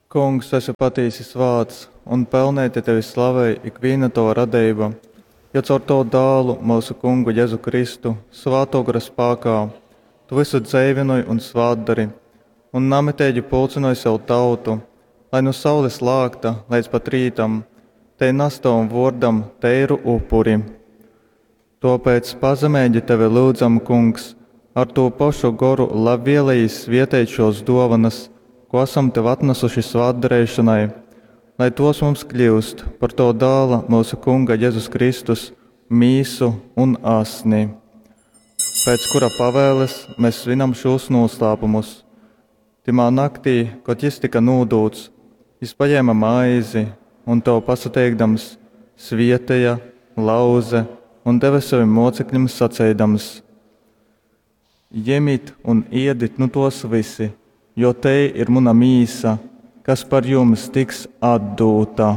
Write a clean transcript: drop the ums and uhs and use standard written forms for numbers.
Kungs, tu esi patīsi svāts, un pelneiti tevi slavej ikvīna tova radeiba, jo caur tovu Dālu, myusu Kungu Jezu Kristu, Svātō Gora spākā tu vysu dzeivynoj un svātdori, un namiteigi pulcynoj sev tautu, lai nu saules lākta leidz pat rītam tei nas tovam vōrdam teiru upuri. Tōpēc pazemeigi tevi lyudzam, Kungs, ar tū pošu Goru labvielejīs svieteit šōs dōvonas, kū asam tev atnasuši svātdareišonai, lai tōs mums kļyust par tova Dāla, myusu Kunga Jezus Kristus, mīsu un asni, pēc kura pavēles mes svinam šūs nūslāpumus. Tymā naktī, kod jys tyka nūdūts, jys pajēme maizi un, tev pasateikdams, svieteja, lauze un deve sovim mōceklim saceidams, Jemit un iedit nu tōs vysi, jo tei ir muna mīsa, kas par jums tiks atdūta.